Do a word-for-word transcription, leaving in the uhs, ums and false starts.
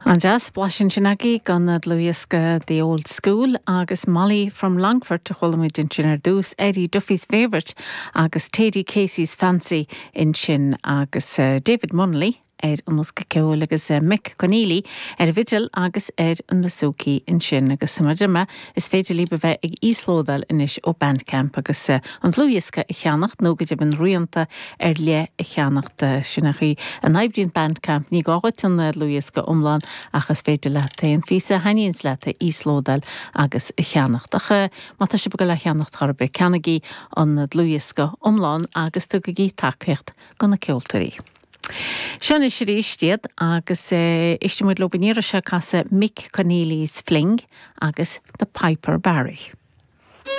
An-deas blaiseadh sin agaibh den dlúthdhiosca The Old School agus Molly from Longfort a chuala muid ansin ar dtús Eddie Duffy's Favourite agus Teddy Casey's Fancy ansin agus uh, David Munley ar an mbosca ceoil agus uh, Mick Conneely ar an bhfidil agus ar an mbouzouki ansin agus mar dúirt mé is féidir libh a bheith ag íoslódáil anois ó Bandcamp agus uh, an dlúthdhiosca a cheannacht nó go deimhin rianta ar leith a cheannacht uh, sin an chaoi a n-oibríonn Bandcamp ní gá duit an dlúthdhiosca iomlán ach is féidir leat an píosa a thaitníonns leat a íoslódáil agus a cheannacht ach má tá sibh le ceannacht chor ar bith ceannaigí an dlúthdhiosca iomlán agus tugaigí tacaíocht do na ceoltóirí. Seo anois arís iad agus éistfidh muid leo an iarraidh seo casadh Mick Conneely's Fling agus The Piper Barry.